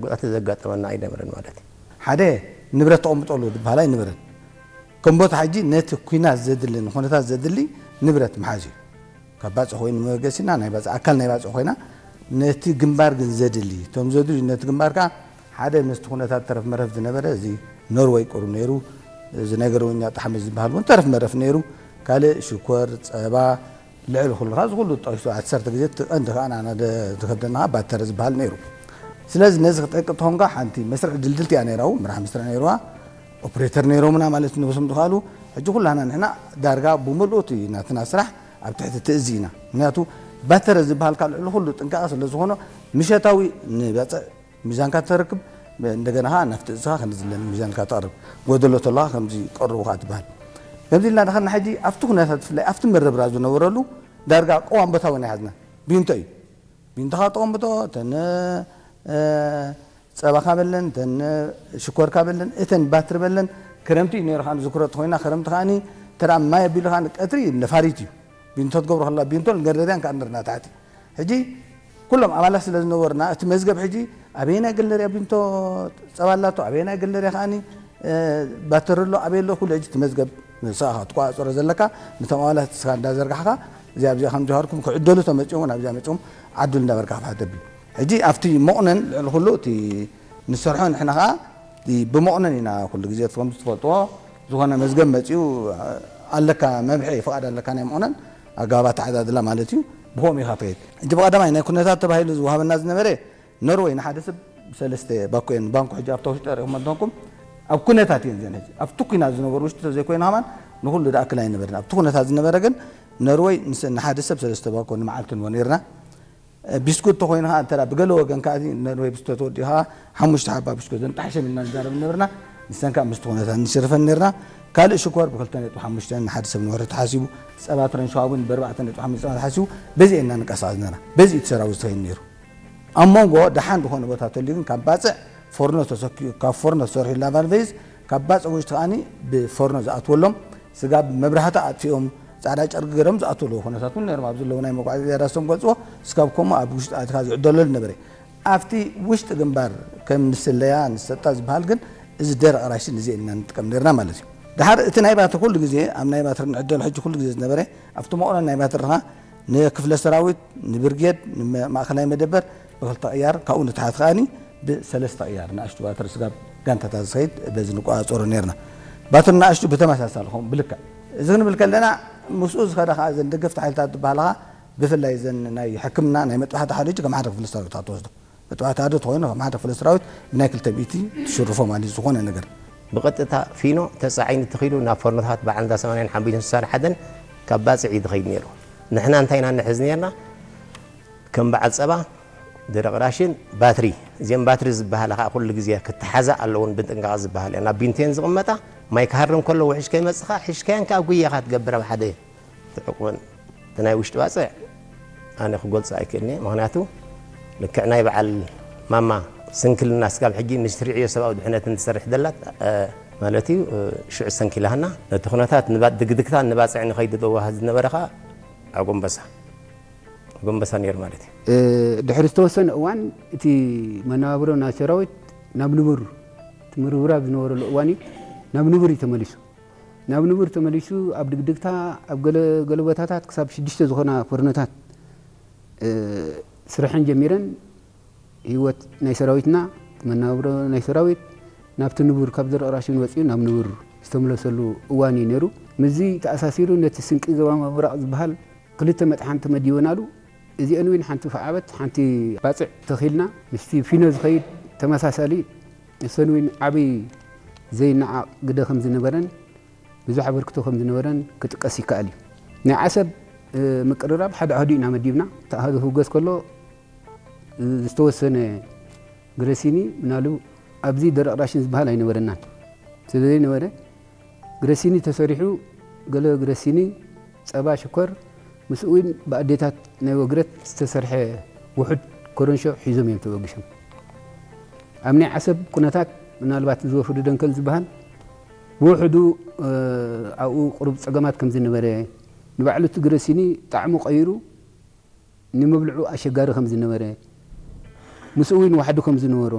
ጉድኣት ዘጋጠመና ኣይነበረን ማለት እዩ። ሓደ ንብረት ተቐምጠሉ ዝበሃል ኣይነበረን። ከም ቦታ ሕጂ ነቲ ኲናት ዘድሊ ንኹነታት ዘድሊ ንብረት ምሓዝ እዩ። ካብ ባፅዕ ኮይኑ መበገሲና ናይ ባፅዕ ኣካል ናይ ባፅዕ ኮይና ነቲ ግንባር ግን ዘድሊ እቶም ዘድልዩ ነቲ ግንባር ከዓ ሓደ ምስቲ ኩነታት ተረፍ መረፍ ዝነበረ እዚ ኖርወይ ቁሩብ ነይሩ፣ እዚ ናይ ገረወኛ ጣሕሚ ዝበሃል እውን ተረፍ መረፍ ነይሩ። ካልእ ሽኮር፣ ፀባ፣ ልዕሊ ኩሉ ካብ እዚ ኩሉ ጠቂሱ ዓሰርተ ግዜ እቲ ቀንዲ ከዓ ንዓና ደ- ዝከብደና ከዓ ባተረ ዝበሃል ነይሩ። ስለዚ ነዚ ክጠቅጥ ተኾንካ ሓንቲ መስርዕ ድልድልቲ እያ ነይራ፣ እውን ምራሕ መስርዕ ነይርዋ፣ ኦፕሬተር ነይሮምና ማለት ነብሶም ዝኸኣሉ። ሕጂ ኩላና ንሕና ዳርጋ ብምልኡ እቲ ናትና ስራሕ ኣብ ትሕቲ ትእዚ ኢና። ምክንያቱ ባተረ ዝበሃል ካብ ልዕሊ ኩሉ ጥንቃቐ ስለ ዝኾኖ ምሸታዊ ንበፅዕ ሚዛንካ ተረክብ፣ እንደገና ከዓ ናብቲ እዝኻ ከምዚ ኢለን ሚዛንካ ተቕርብ፣ ጎደሎ ተለኻ ከምዚ ቀርቡ ከዓ ትበሃል። ከምዚ ኢልና ድኸና ሕጂ ኣብቲ ኩነታት ብፍላይ ኣብቲ መረብራ ዝነበረሉ ዳርጋ ቀዋም ቦታ እውን ኣይሓዝና። ቢንቶ እዩ። ቢንቶኻ ተቐምጦ፣ እተን ፀባካ በለን፣ እተን ሽኮርካ በለን፣ እተን ባትሪ በለን። ክረምቲ እዩ ነይሩ ከዓ ዝክሮ ተኮይና ክረምቲ ከዓ ተራ ማይ ኣቢሉ ከዓ ቀትሪ ነፋሪት እዩ። ቢንቶ ትገብሮ ከላ ቢንቶ ንገደርያን ከዓ ንርና ታሕቲ። ሕጂ ኩሎም ኣባላት ስለ ዝነበርና እቲ መዝገብ ሕጂ ኣበየናይ ገለርያ ቢንቶ ፀባ ኣላቶ ኣበየናይ ገለርያ ከዓ ባተሪ ኣሎ ኣበየ ኣሎ ኩሉ ሕጂ እቲ መዝገብ ንስኻ ትቆፃፀሮ ዘለካ ነቶም ኣባላት ስኻ እንዳዘርጋሕካ እዚኣ ኣብዚኣ ከም ጀሃርኩም ክዕደሉ ተመፂኦም ናብዚኣ መፂኦም ዓድሉ እንዳበርካ ክፍሓት ደብል። ሕጂ ኣብቲ መቑነን ልዕሊ ኩሉ እቲ ንሰርሖ ንሕና ከዓ እቲ ብመቑነን ኢና ኩሉ ግዜ ከም ትፈልጥዎ ዝኾነ መዝገብ መፂኡ ኣለካ መምርሒ ፍቓድ ኣለካ ናይ መቑነን ኣገባብ ኣተዓዳድላ ማለት እዩ። ብከምኡ ኢኻ ትኸይድ። ሕጂ ብቐዳማይ ናይ ኩነታት ተባሂሉ ዝወሃበና ዝነበረ ኖርወይ ንሓደ ሰብ ሰለስተ ባኮ እየን ባንኮ ሕጂ ኣብታ ውሽጢ ሪኹም እንተንኩም ኣብ ኩነታት እየን ዘን ሕጂ ኣብቲ ኩናት ዝነበሩ ውሽጢ ተዘይኮይኑ ከማን ንኩሉ ድኣክል ኣይነበርን ኣብቲ ኩነታት ዝነበረ ግን ኖርወይ ንሓደ ሰብ ሰለስተ ባኮ ንመዓልቲ ንቦ ነርና። ቢስኩት ተኮይኑ ከዓ እንተ ብገለ ወገን ከዓ ነርወይ ብስኩት ተወዲኡ ከዓ ሓሙሽተ ሓባ ብስኩት ዘንጣሕሸም ኢልና ንዛረብ ነበርና። ንሰን ከዓ ምስቲ ኩነታት ንሽርፈን ነርና። ካልእ ሽኮር ብክልተ ነጥቢ ሓሙሽተ ንሓደ ሰብ ንወርሒ ተሓሲቡ ፀባ ትረን ሸዋቡን ብኣርባዕተ ነጥቢ ሓሙሽተ ፀባ ተሓሲቡ በዚ ኢና ንቀሳቐስ ነርና። በዚ እቲ ሰራዊት ዝኸይድ ነይሩ። ኣብ መንጎ ደሓን ዝኾነ ቦታ ተልዩ ግን ካብ ባፅዕ ፎርኖ ተሰኪኡ ካብ ፎርኖ ተሰርሑ ላቫል ቬዝ ካብ ባፅዕ ውሽጢ ከዓኒ ብፎርኖ ዝኣትወሎም ስጋብ መብራህቲ ኣጥፊኦም ፃዕዳ ጨርቂ ገይሮም ዝኣትወሉ ኩነታት እውን ነይሮም ኣብዚ ኣለዉ ናይ መጓዓዝያ ዳሶም ገልፅዎ ስጋብ ከምኡ ኣብ ውሽጢ ኣትካ ዝዕደለሉ ነበረ ኣብቲ ውሽጢ ግንባር ከም ንስለያ ንሰጣ ዝበሃል ግን እዚ ደረቕ ራሽን እዚ ኢና ንጥቀም ነርና ማለት እዩ ድሓር እቲ ናይ ባትሪ ኩሉ ግዜ ኣብ ናይ ባትሪ ንዕደሉ ሕጂ ኩሉ ግዜ ዝነበረ ኣብቲ መቑረን ናይ ባትሪ ኻ ንክፍለ ሰራዊት ንብርጌድ ንማእኸላይ መደበር ብክልተ ቅያር ካብኡ ንትሓት ከኣኒ ብሰለስተ ቅያር ንኣሽቱ ባትሪ ስጋብ ጋንታታት ዝኸይድ በዚ ንቆፃፀሮ ነርና ባትሪ ንኣሽቱ ብተመሳሳሊ ኸም ብልክዕ እዚ ክንብል ከለና ምስኡ ዝኸደ ከዓ ዘን ደገፍቲ ሓይልታት ዝበሃላ ብፍላይ ዘን ናይ ሕክምና ናይ መጥባሕቲ ሓደ ከም ሓደ ክፍለ ሰራዊት ትወስዶ መጥባሕቲ ሓደ ተኮይኑ ከም ሓደ ክፍለ ሰራዊት ብናይ ክልተ ሚእቲ ትሽርፎ ማለት ዝኾነ ነገር ብቐጥታ ፊኖ ተፃዒኑ ተኺሉ ናብ ፈርኖታት በዓል እንዳ ሰማንያን ሓሙሽተን ስሳን ሓደን ካብ ባፅዕ እዩ ዝኸይድ ነይሩ። ንሕና እንታይ ኢና ንሕዝ ነርና? ከም በዓል ፀባ፣ ደረቕ ራሽን፣ ባትሪ። እዚአን ባትሪ ዝበሃላ ከዓ ኩሉ ግዜ ክተሓዛ ኣለውን ብጥንቃቐ ዝበሃል እያ። ናብ ቢንቴን ዝቕመጣ ማይ ክሃርም ከሎ ውሕጅ ከይመፅኻ ሒዝካየን ከዓ ጉያኻ ትገብር ኣብ ሓደ ትዕቁበን እቲ ናይ ውሽጢ ባፅዕ ኣነ ክገልፆ ኣይክእልኒ ምክንያቱ ልክዕ ናይ በዓል ማማ ስንክልና ስጋብ ሕጂ ምስ ትሪዕዮ ሰብኣዊ ድሕነትን ትሰርሕ ደላት ማለት እዩ ሽዑ ሰንኪላህና ነቲ ኩነታት ድግድግታን ንባፅዕ ንኸይድ ዘዋሃ ዝነበረ ከዓ ኣጎንበሳ ኣጎንበሳ ነይሩ ማለት እዩ ድሕሪ ዝተወሰነ እዋን እቲ መነባብሮ ናይ ሰራዊት ናብ ንቡር እቲ ምርብራብ ዝነበረሉ እዋን እዩ ናብ ንቡር እዩ ተመሊሱ ናብ ንቡር ተመሊሱ ኣብ ድግድግታ ኣብ ገለ ገለ ቦታታት ክሳብ ሽዱሽተ ዝኾና ፈርኖታት ስርሐን ጀሚረን ህይወት ናይ ሰራዊትና መናብሮ ናይ ሰራዊት ናብቲ ንቡር ካብ ዘርኢ ራሽን ወፂኡ ናብ ንቡር ዝተመለሰሉ እዋን እዩ ነይሩ። ምስዚ ተኣሳሲሩ ነቲ ስንቂ ዞባ ምብራቕ ዝበሃል ክልተ መጥሓን ተመዲበናሉ። እዚአን እውን ሓንቲ ፈዓበት ሓንቲ ባፅዕ ተኺልና ምስቲ ፊኖ ዝኸይድ ተመሳሳሊ እሰን እውን ዓብይ ዘይነዓቕ ግደ ከም ዝነበረን ብዙሕ ኣበርክቶ ከም ዝነበረን ክጥቀስ ይከኣል እዩ። ናይ ዓሰብ ምቅርራብ ሓደ ኣህዱ ኢና መዲብና። እቲ ኣህዱ ክውገዝ ከሎ ዝተወሰነ ግረሲኒ ምናሉ ኣብዚ ደረቕ ራሽን ዝበሃል ኣይነበረናን። ስለ ዘይነበረ ግረሲኒ ተሰሪሑ ገለ ግረሲኒ፣ ጸባ፣ ሽኮር ምስኡ እውን ብኣዴታት ናይ ወግረት ዝተሰርሐ ውሑድ ኮረንሾ ሒዞም እዮም ተበጊሶም። ኣብ ናይ ዓሰብ ኩነታት ምናልባት እዚ ወፍሪ ደንከል ዝበሃል ብውሕዱ ኣብኡ ቁሩብ ጸገማት ከም ዝነበረ ንባዕሉ እቲ ግረሲኒ ጣዕሙ ቀይሩ ንመብልዑ ኣሸጋሪ ከም ዝነበረ ምስኡ እውን ዋሕዲ ከም ዝነበሮ